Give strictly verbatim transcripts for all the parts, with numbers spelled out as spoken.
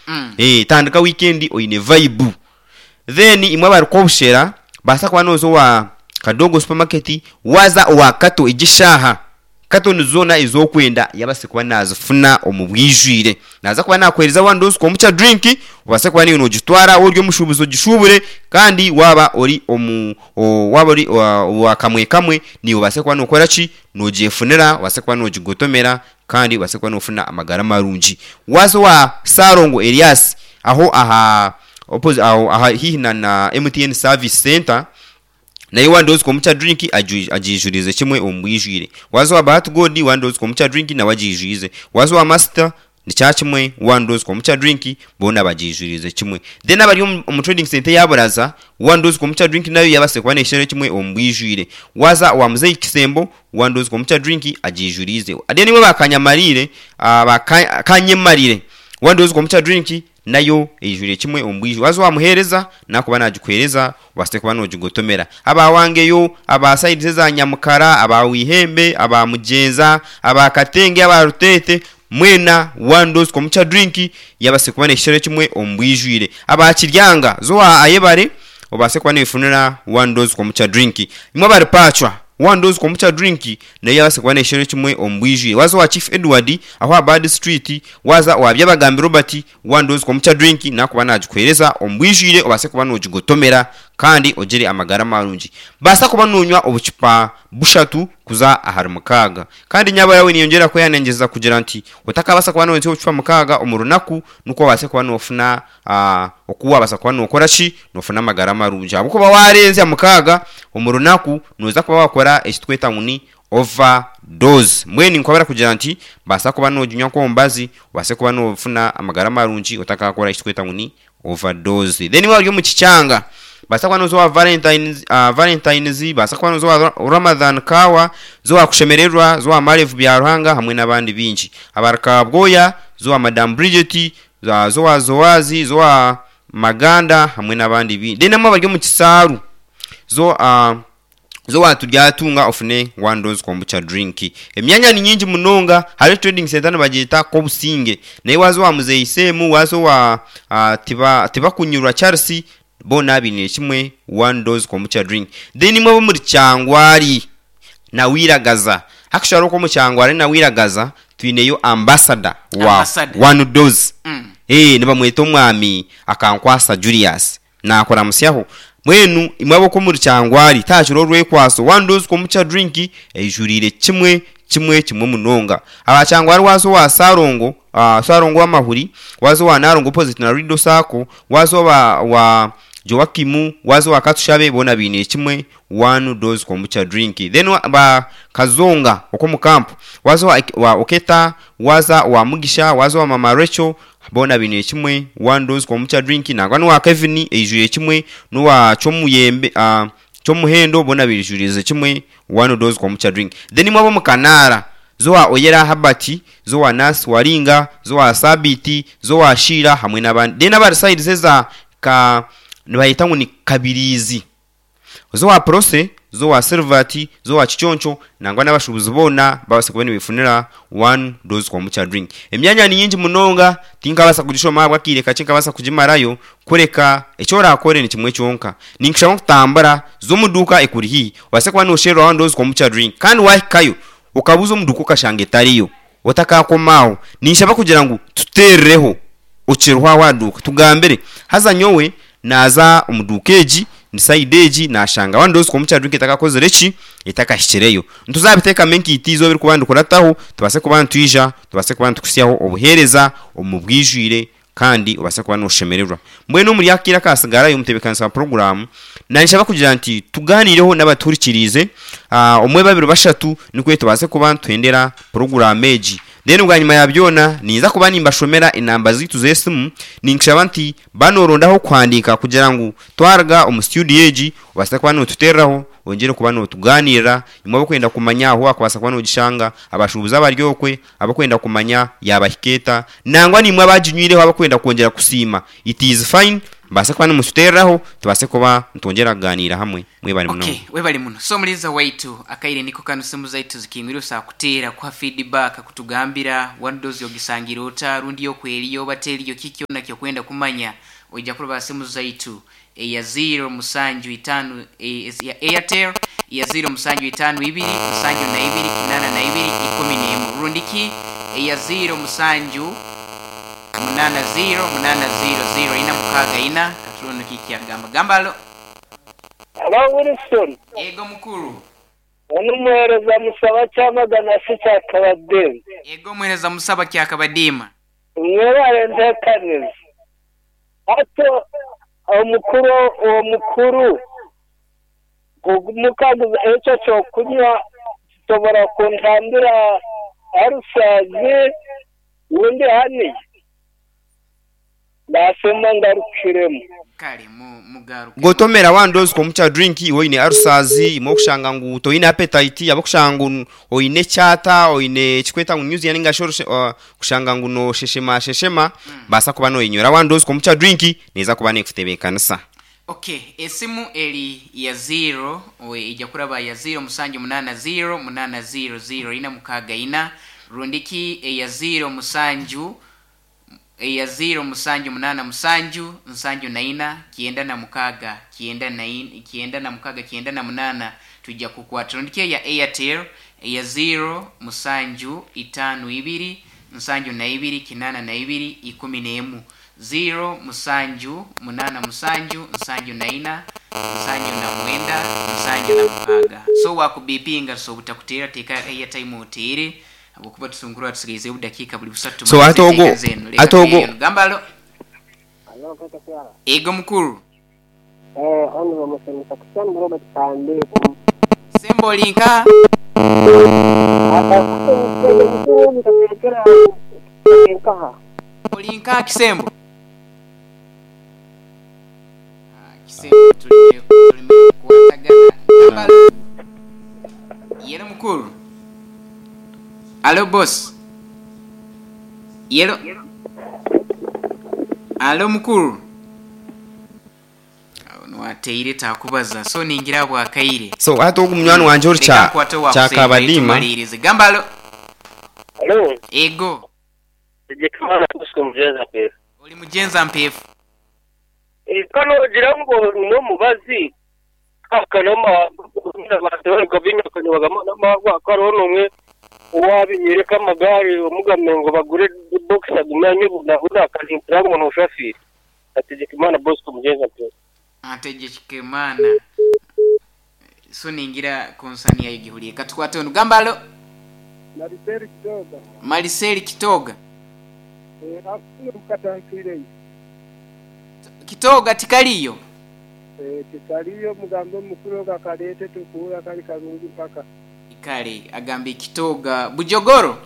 Mm. Eh, tandika wiikendi oine vibe. Then imwe abarikuha obushera, baasa kuba nooza owa Kadogo Supermarket, waaza owa Kato egi eshaaha, katoni zoona ezi orikwenda yabaasa kuba naazifuna omu bwijwire. Naaza kuba naakuheereza one dose kombucha drink, obaase kuba naiwe noogitwara waaba ori omushuubuzi ogishuubure, kandi waaba ori omu o- waaba ori owa owa kamwe kamwe, naiwe obaase kuba nookora ki? Noogyefunira, obaase kuba noogigotomera kandi obaase kuba noofuna amagara marungi. Waaza owa Ssalongo Elias, aho aha opposi aho aha haihi na na M T N Service Centre, nayo one dose kombucha drink agi- agiijurize kimwe omu bwijwire. Waaza owa Bahati God, one dose kombucha drink nawe agiijwize. Waaza owa Master, nikya kimwe, one dose kombucha drink boona bagiijurize kimwe. Then abari omu omu trading centre eya Buraza, one dose kombucha drink nayo yabaasa kuba neeshera kimwe omu bwijwire. Waaza owa Muzeyi Kisembo, one dose kombucha drink agiijurize. Then imwe ba Kanyamarire, ah, ba Ka- Kanyemarire, one dose kombucha drink nayo eijwire kimwe omu bwijwire. Waaza owa Muheereza, nakuba naagikuheereza obaase kuba noogigotomera. Aba Wangeyo, aba sides eza Nyamukara, aba Wihembe, aba Mugyenza, aba Katenge, aba Ruteete, mwena one dose kombucha drink yabaase kuba neeshera kimwe omu bwijwire. Aba Kiryanga, zo owa Ayebare, obaase kuba neefunira one dose kombucha drink. Imwe abari Pacwa, one dose kombucha drink nayo yabaasa kuba neeshera kimwe omu bwijwire. Waaza owa Chief Edward, aho aha Bad Street, waaza owa Byabagambi Robert, one dose kombucha drink nakuba naagikuheereza omu bwijwire obaase kuba noogigotomera kandi ogire amagara marungi. Baasa kuba noonywa obucupa bushatu kuza ahari mukaaga. Kandi nyabura we ninyongyera kwehanangiriza kugira nti otakabaasa kuba noonywa obucupa mukaaga omu runaku, nikwo obaase kuba noofuna ah, oku waabaasa kuba nookora ki? Noofuna amagara marungi. Ahabw'okuba waarenzya mukaaga omu runaku, nooza kuba waakora eki tweta ngu ni overdose. Mbwenu ninkwabura kugira nti baasa kuba nooginywa nk'omubazi, obaase kuba noofuna amagara marungi otakaakora eki tweta ngu ni overdose. Then waaba ori omu kikyanga, baasa kuba nooza owa Valentines, uh, Valentines, baasa kuba nooza owa Ramadhan Kawa, zo owa Kushemererwa, zo owa Marevu Byaruhanga hamwe n'abandi baingi. Abari Kabwoya, zo owa Madam Bridget, za- zo owa Zowazi, zo owa Maganda hamwe n'abandi baingi. Then namwe abari omu kisaaru, zo uh, zo waturyatunga ofune one dose kombucha drink. Emyanya ni nyingi munonga. Hariho trading center nibagyeta Kobusinge, naye waaza owa Muzeyi Semu, waaza owa uh, tiba Tibakunyurwa Charles, boona bainiire kimwe one dose kombucha drink. Then imwe ab'omuri Kyangwari na Wiragaza, actually okwo omu Kyangwari na Wiragaza twineyo ambassador wa Ambassador. one dose. Mm. Eh, nibamweta omwami Akankwasa Julius, naakuramusyaho. Mbwenu imwe ab'okwo omuri Kyangwari, taakira orwekwaso, one dose kombucha drink eijuriire kimwe kimwe kimwe munonga. Aba Kyangwari, waaza owa Sarongo, uh, Sarongo w'amahuri, waaza owa Narongo opposite na Rido Sacco, waaza owa wa Joakimu, waaza owa Katushabe, boona bainiire kimwe one dose kombucha drink. Then wa- ba Kazonga okwo mu kampu, waaza owa, wa Oketa, waaza owa Mugisha, waaza owa Mama Rachel, boona bainiire kimwe one dose kombucha drink. Nangwa n'owa Kevin eijwire kimwe, n'owa Kyomuyembe, uh, Kyomuhendo, boona baijurize kimwe one dose kombucha drink. Then imwe ab'omu Kanaara, zo wa Oyera Habati, zo wa Nasi Waringa, zo wa Sabiti, zo wa Shira hamwe n'abandi. Then abari sides eza ka nibayeta ngu ni Kabirizi, zo wa Prose, zo wa Silvati, zo wa Kiconco, nangwa n'abashuubuzi boona babaase kuba nibeefunira one dose kombucha drink. Emyanya ni nyingi munonga, tinkabaasa kugishoma ahabw'akaire kakye nkabaasa kugimarayo. Kureka eki oraakore ni kimwe kyonka, ninkushaba kutambura z'omu duuka ekuri haihi, obaase kuba noosherura one dose kombucha drink. Kandi waahikayo okabuuza omu duuka okashanga etariyo, otakaakoma aho, ninshaba kugira ngu tuteerereho okiriho aho aha duuka, tugambire, haza nyowe naaza omu duuka egi ni side egi, nashanga one dose kombucha drink etakakozire ki? Etakahikireyo. Ntuzabiteekamu enkaito izooba erikuba ndikurataho, tubaase kuba nitwija, tubaase kuba nitukuhitsyaho obuheereza omu bwijwire kandi obaase kuba nooshemererwa. Mbwenu omuri akaire akasigarayo, omutebeekanisa wa puroguraamu, nanshaba kugira nti tugaanireho n'abatuhurikiriize, uh, omwe, babiri, bashatu, nikwo tubaase kuba nituhendera puroguraamu egi. Then bwanyima ya byona ninza kuba nimbashomera enamba zaitu z'esimu. Ninkushaba nti banorondaho kuhandiika kugira ngu twaruga omu studio egi obaase kuba nootuteereraho, ongere kuba nootugaaniirira. Imwe abakwenda kumanya ahu wakubaasa kuba noogishanga, abashuubuzi abari okwe abakwenda kumanya yaabahika eta, nangwa nimwe abaginywireho abakwenda kwongyera kusiima, it is fine. Mbase kuba nimututereraho tubase kuba nitwongyera kuganiira hamwe. Mwebale muno. Okay, webale muno. So mulinza waitu akaire niko kano, simu zaitu zikingwire osakuteera kuha feedback, kutugambira one dose ogisangira ota rundi yokweriyo oba teriyo, kiki kyona kyokwenda kumanya. Ojja kuroba simu zaitu eya zero musanju itano e, ya Airtel ya zero musanju itano ibiri musanju na ibiri kinana na ibiri ikumi n'emu, rundiki eya zero musanju munana zero munana zero zero ina mukaga ina. Katulono kiki agamba gambalo. Hello Wilson. Ego mukuru. Ono muhereza musaba kyamagana si kyakabadima. Ego muhereza musaba kyakabadima. Mwebale ntekaniza. Ato omukuru omukuru mukaguza ekyo kyokunywa kisobora kuntambira arusazi undi hani nasema ngarukiremu. Kale mu mugaruke. Gotomera wandozi komucha drink oine arusazi imwe okushanga ngu toine appetite, abo kushanga ngu oine chata oine chikweta ngu news yaninga shoro uh, kushanga ngu no sheshema sheshema mm. Basa kuba no inyora wandozi komucha drink neza kuba nekutebekanisa. Okay, esimu eri ya zero owe ijja kuraba ya zero musanju munana zero munana zero zero ina mukaga ina, rundiki eya zero musanju eya zero musanju munana musanju nsanju na ina kienda na mukaga kienda na in, kienda na mukaga kienda na munana tujja kukwata. Rundiki eya Airtel eya zero musanju itano ibiri nsanju na ibiri kinana na ibiri ikumi n'emu, zero musanju munana musanju nsanju na ina nsanju na mwenda nsanju na mukaga. So wakubipinga so butakutera teka airtime otere abukuba tusungura tusigaize budakika buli busatu. So atogo atogo gambalo. Ego mukuru. Eh ono musemesa kusana Robert Kambe. Sembo linka. Olinka kisembo. Ah, kisembo tulime tulime kuwatagana. Gambalo. Yero mukuru. Alo boss. Yero. Alo mukuru. Wateire takubaza so ningira bwakaire. So ate omunywani wanje ori cha kyakabadima. Gambalo. Hello. Ego. Ndikamana kusumjeza pe. Oli mujenza mpefu. E kano jirango no mubazi akanoma abantu gobinya kanywaga namagwa karono mwe wabinyereka amagare omugamengo bagure box agumanye bunahuda akazimpira ngo ushafiri. Ategekimana Bosco mujenza pe. Ategekimana. So ningira konsani yayo gihuliye katukwate ono gambalo. Mariseli Kitoga. Mariseli Kitoga. Eh afuye mukatankire. Kitoga tikaliyo. Eh tikaliyo mugambo mukuru gakalete tukura kali karungi mpaka. Ikale agambe Kitoga Bujogoro.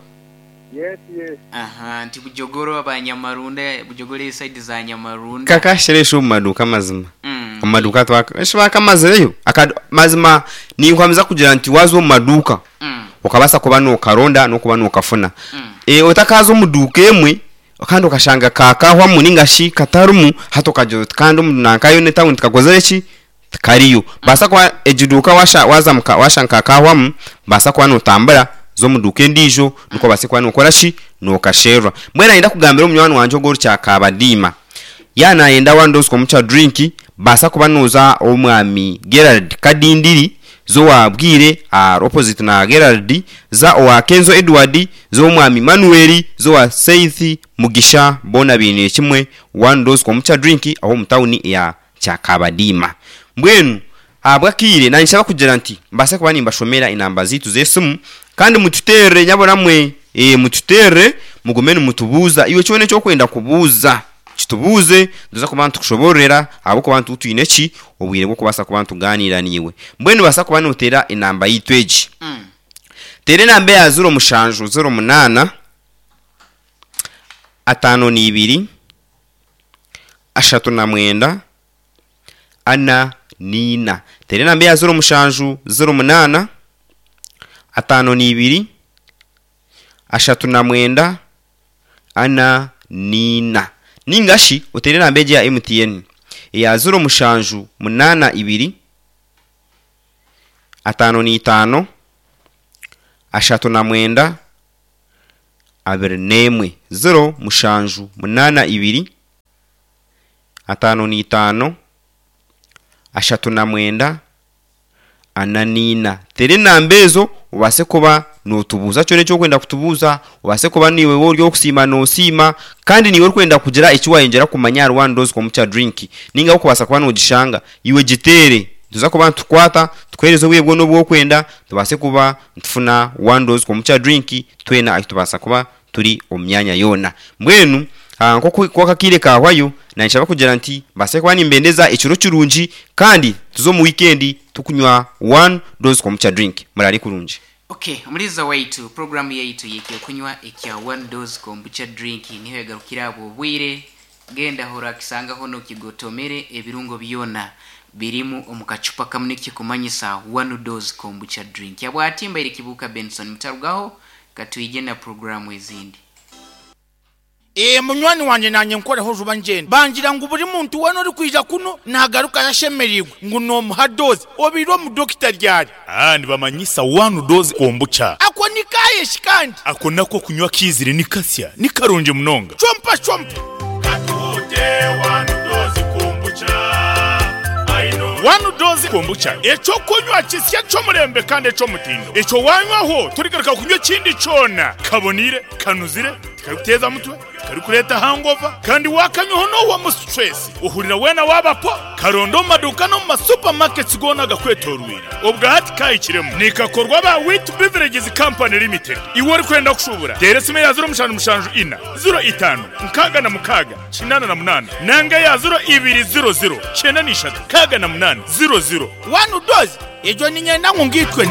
Yes yes. Aha nti Bujogoro abanyamarunda Bujogoro side za Nyamarunda. Kakasheresha mu maduka mazima. Mm. Mu maduka twaka eshibaka mazireyo akad mazima ninkwamiza kugira nti wazo mu maduka. Mm. Okabasa kuba no karonda no kuba no kafuna. Mm. E otakazo muduka emwe kandi okashanga kakahwa muninga shi katarumu hatokajo kandi nankayo ne town tikakozere ki kariyo. Basa kwa ejiduka washa waza muka washanka kahwamu basa kwa no tambara zo muduka endijo nuko base kwa nokora shi nokasherwa. Mbwena yenda kugambira omunywani wanje ogoro kyakabadima. Yana yenda wandozi komucha drink basa kuba noza omwami Gerald Kadindiri zo wabwire uh, opposite na Gerald za owa Kenzo Edward zo omwami Manuel zo wa Seithi Mugisha bona bine kimwe wandozi komucha drink aho mu town ya kyakabadima. Mbwenu abwakire nanshaba kugira nti mbase kuba nimbashomera inamba zitu zesimu kandi mututere nyabona mwe e mututere mugumene mutubuza iwe cyone cyo kwenda kubuza kitubuze nduza kubantu kushoborera abo kubantu tuine ki obwire bwo kubasa kubantu ganira niwe. Mbwenu basa kuba notera inamba yitweji mm. Tere namba ya zero mushanju zero munana atano ni ibiri ashatu na mwenda ana nina. Tere namba ya zero mushanju zero munana atano ni ibiri ashatu na mwenda ana nina. Ningashi utere namba ya M T N Eya ziro mushanju munana ibiri atano n'itaano ashatu na mwenda abiri n'emwe. Ziro mushanju munana ibiri atano n'itaano ashatu na mwenda ana n'ina. Tere enamba ezo obaase kuba nootubuuza kyona ekyokwenda kutubuuza, obaase kuba niiwe ori okusiima noosiima, kandi niiwe orikwenda kugira eki wayongyera kumanya ahari one dose kombucha drink, ninga okubaasa kuba noogishanga iwe giteere. Nituza kuba nitukwata tukuheereza obwire bwona obu orikwenda, tubaase kuba nitufuna one dose kombucha drink twena ahi tubaasa kuba turi omu myanya yoona. Mbwenu ah, nk'oku akaire kahwayo, nanshaba kugira nti mbaase kuba nimbendeza ekiro kirungi, kandi tuze omu wiikendi tukunywa one dose kombucha drink. Murare kurungi. Okay, omuliza waitu, programu yaitu yekyokunywa ekya one dose kombucha drink niho yagarukira abo obwire. Genda hora kisangaho nokigotomere ebirungo byona birimu omu kacupa kamwe nikikumanyisa one dose kombucha drink. Yabwati mbaire Kibuuka Benson, mutarugaho katwije na programu ezindi. Ee, munywani wanje nanye nkoreho juba ngenda bangira ngu buri muntu wena ori kwija kuno nagaruka yashemereirwe ngu nomuha doze obiire omudokita ryari. Ah, nibamanyisa one dose kombucha. Ako ni kayeshi kandi. Ako nako kunywa kizire ni kasya ni karungi munonga. Chompa chompa. Katute one dose kombucha. One dose kombucha ekyo kunywa kisya ky'omurembe kandi eky'omutindo. Ekyo wanywaho turigaruka kunywa ekindi kyona. Kabonire, kanuzire, tikarikuteza mutwe, tikarikureeta hangover, kandi wakanywaho n'owa mu stress. Uhurira wena wabapo, karondo omu maduuka n'omu ma supermarkets goona gakwetorwire. Obwa hati kahikiremu. Nikakorwa ba Wheat Beverages Company Limited. Iwe orikwenda kushubura, teera esimu ya ziro mushanju mushanju ina, ziro itaano, nkaaga na mukaaga, kinaana na munaana, nanga ya ziro ibiri ziro ziro, kyenda n'ishatu, kaaga na munaana, ziro ziro. One dose ejo ninyenda ngu ngitwe na